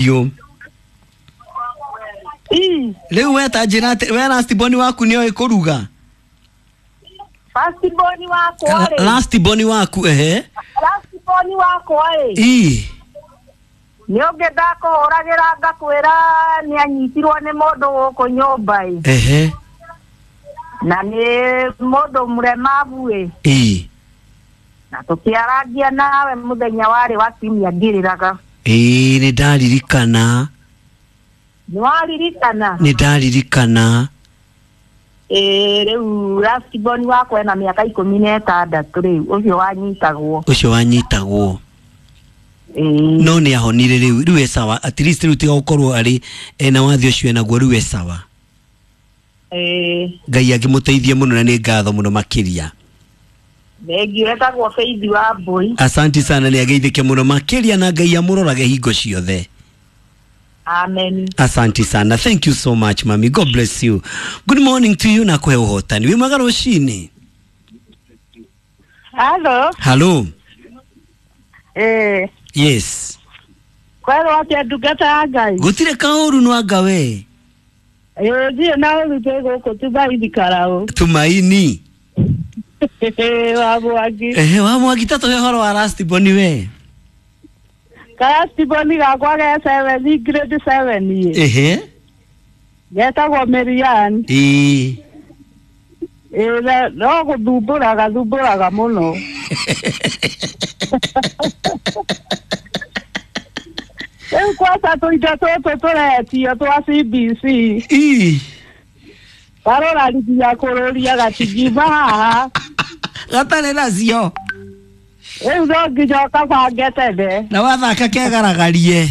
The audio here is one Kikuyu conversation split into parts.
Yo. Rĩu we ta njĩra atĩ we last born waku nĩoĩ kũruga? First born wakwa rĩ. Last born waku ehe. Last born wakwa rĩ. Ii. Nĩ ũngĩ ndakũhũragĩra ngakwĩra nĩ anyitirwo nĩ mũndũ gũkũ nyũmba ĩ. Ehe. Na nĩ mũndũ mũremabu ĩ. Ii. Na tũkĩarangia nawe mũthenya warĩ wa kiumia ngĩrĩraga. Ĩĩ nĩ ndaririkana. Nĩ waririkana? Nĩ ndaririkana. Ĩĩ rĩu last born wakwa ena mĩaka 16 rĩu ũcio wanyitagwo. Ũcio wanyitagwo. Ĩĩ. No nĩ ahonire rĩu, rĩu e sawa. At least rĩu tiga gũkorwo arĩ ena wathe ũcio enaguo rĩu e sawa. Ĩĩ. Ngai angĩmũteithie mũno na nĩ ngatho mũno makĩria. Thengiũ etagwo Faith wa Mbũi. Asanti sana nĩ ageithĩke mũno makĩria na Ngai amũrorage hingo ciothe. Amen. Asanti sana. Thank you so much, mami. God bless you. Good morning to you na kũhe ũhotani. Wĩ mwega rũcinĩ? Hello. Hello. Eh. Yes. Kwerwo atĩa ndungata ya Ngai? Gũtirĩ kaũru no anga we. Ĩĩ ndirĩ na ũru twĩ gũkũ Tumaini Karaũ. Tumaini. Wa Mwangi. Ehe, wa Mwangi ta tũhe ũhoro wa last born we. Last born gakwa ge 7 grade 7 ĩ. Ehe. Getagwo Merian. Ĩĩ. Ĩĩ no gũthumbũraga thumbũraga mũno. Rĩu kwaca tũindo tũtũ tũretio twa CBC. Ĩĩ. Karorarithia kũrũria gatingiuma haha. Gatarĩ nacio. Rĩu no nginya ũkabange tene. Na wathaka kegaragarie.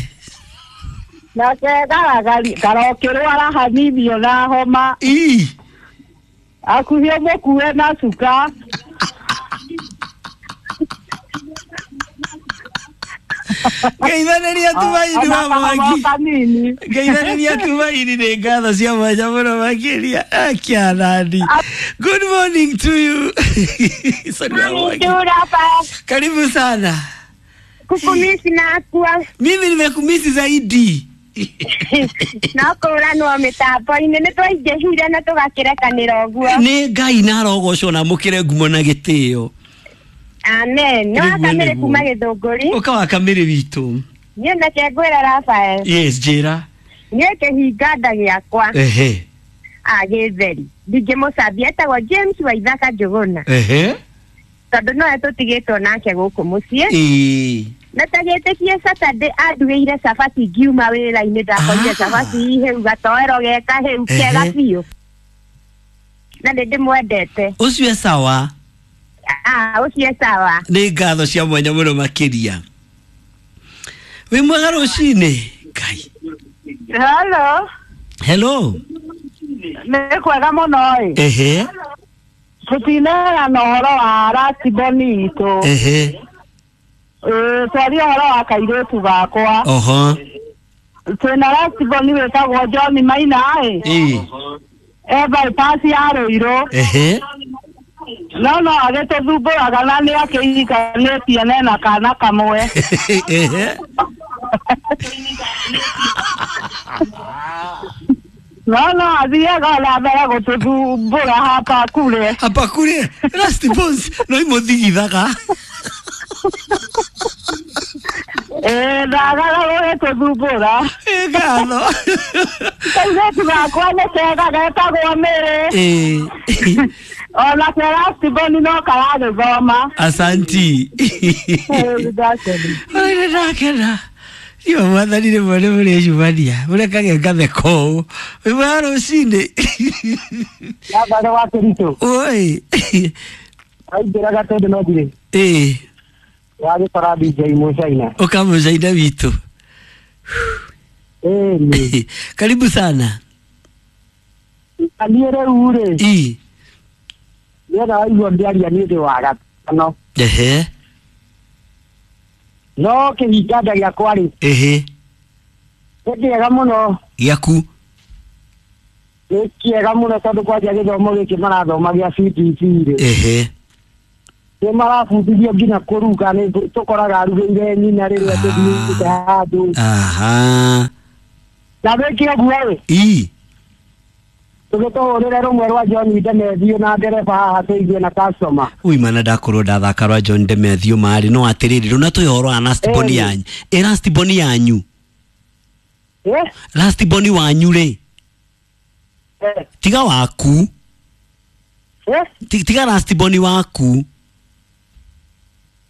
Na kegaragarie karokĩrwara hanini ona homa. Ĩĩ. Hakuhĩ ũmũkue na cuka. Ngeithanĩria Tumaini wa Mwangi. Kanini. Ngeithanĩria Tumaini nĩ ngatho cia mwanya mũno makĩria. Akianani. Good morning to you. Sorry, wa Mwangi. Karibu sana. Kukumisi nakua. Mimi nimekumisi zaidi. No kũranwo mĩtambo-inĩ nĩ twaingĩhire na tũgakĩrekanĩra ũguo. Nĩ Ngai na arogocwo na amũkĩre ngumo na gĩtĩo. Amen. No Nĩguo, akamĩrĩ nĩguo. kuma Gĩthũngũri. Ũka wa kamĩrĩ witũ. Niĩ nake ngwĩra Rafael. Yes, njĩra. Niĩ kĩhinga nda gĩakwa. Ehe. Gĩtheri. Ndingĩmũcambia etagwo James Waithaka Njũgũna. Ehe. Tondũ nowe tũtigĩtwo nake gũkũ mũciĩ. Ĩĩ. Na ta gĩtĩkie Saturday andugĩire cabaci ngiuma wĩra-inĩ ndakorire cabaci hĩu gatoero geka hĩu kega biũ. Na nĩ ndĩmwendete. Ũcio e sawa. Ũcio e sawa. Nĩ ngatho cia mwanya mũno makĩria. Wĩ mwega rũcinĩ? Ngai. Hello. Hello. Nĩ kwega mũno ĩ. Ehe. Tũtineana ũhoro wa last born itũ. Ehe. Twaria ũhoro wa kairĩtu gakwa. Oho. Twĩna last born wĩtagwo John Maina ĩ. Ĩĩ. E bypass ya Rũirũ. Ehe. No no agĩtũthumbũraga na nĩ akĩhikanĩtie na ena kana kamwe. Ehe. No no athiaga na mbere gũtũthumbũra hapa kure. Hapa kure. Last borns no imũthigithaga. Ĩĩ ndagaga gũgĩtũthumbũra. Ĩ ngatho. Kairĩtu gakwa nĩ kega getagwo Mĩrĩ. Ĩĩ. Ona ke last born no karagĩthoma. Asanti. Ĩĩ, ndakena. Ore ndakena. Iyo mwathani rĩmwe nĩ mũrĩcumania mũrekage ngatheka ũũ. Wĩ mwega rũcinĩ? Yathaga wa Kericho. Oi. Aingĩraga tondũ no ndirĩ. Ĩĩ. Wagĩkora DJ Mũcaina. Ũka Mũcaina witũ. Ĩĩ. Karibu sana. Na niĩ rĩu rĩ. Ĩĩ. Nĩgetha waigua ngĩaria niĩ ndĩ wa gatano. Ehe. No kĩhinga nda gĩakwa rĩ. Ehe. Nĩ kĩega mũno. Gĩaku. Nĩ kĩega mũno tondũ kwanja gĩthomo gĩkĩ marathoma gĩa CBC rĩ. Ehe. Nĩ marabundithio nginya kũruga, nĩ tũkoraga arugĩire nyina rĩrĩa tũthiĩte handũ. Aha. Na wĩke ũguo ĩ, Ii. tũgĩtũhũrĩre rũmwe rwa John Demethiũ na ndereba haha tũigue na customer. Ui mana ndakorwo ndathaka rwa John Demethiũ marĩ no atĩrĩrĩ rũna twĩ ũhoro wa last born Ĩĩ. yanyu, ĩ last born yanyu? Eh? Last born wanyu rĩ? Eh. Tiga waku. Eh? Tiga last born waku.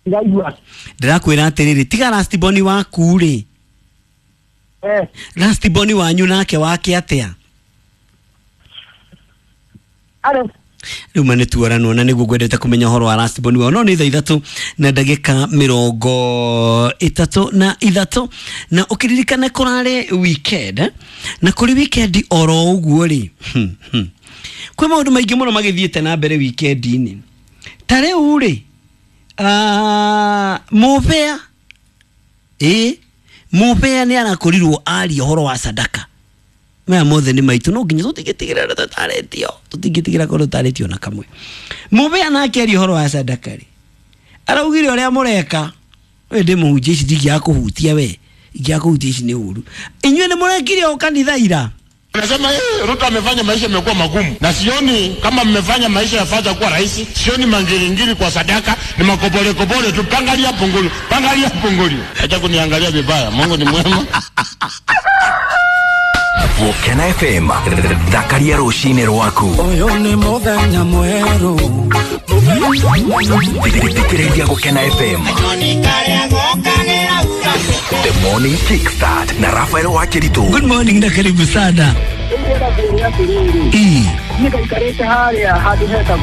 Ndaigua. Ndĩrakwĩra atĩrĩrĩ, tiga last born waku rĩ. Eh. Last born wanyu nake wake atĩa? Alo. Rĩu ma nĩ tuoranwo na nĩguo ngwendete kũmenya ũhoro wa last born wao. No nĩ thaa 3:33, na ũkĩririkane kũrarĩ weekend, eh? Na kũrĩ weekend oro ũguo rĩ, kwĩ maũndũ maingĩ mũno magĩthiĩte na mbere weekend-inĩ. Ta rĩu rĩ, mũbea, ĩ mũbea nĩ arakorirwo aria ũhoro wa sadaka. Maya mothe nĩ maitũ, no nginya tũtingĩtigĩra ũrĩa tũtarĩtio, tũtingĩtigĩra korwo tũtarĩtio na kamwe. Mũbea nake aria ũhoro wa sadaka rĩ, araugire ũrĩa mũreka we ndĩ mũhunjia, ici ndingĩaga kũhutia, we ingĩaga kũhutia ici nĩ ũru. Inyuĩ nĩ mũrekire o kanitha ira. Anasema Ruto amefanya maisha imekuwa magumu, na sioni kama mmefanya maisha ya fadha kuwa rahisi. Sioni mangiringiri kwa sadaka, ni makobole kobole tu, pangalia pungulu, pangalia pungulu. Acha kuniangalia vibaya, Mungu ni mwema. Gũkena FM, thakaria rũcinĩ rwaku. Ũyũ nĩ mũthenya mwerũ. Thikĩrĩria Gũkena FM. The Morning Kickstart na Rafael Wakiritu. Good morning na karibu sana. Ndĩrenda kwĩra atĩrĩrĩ, Ii. niĩ ngaikarĩte harĩa handũ hetagwo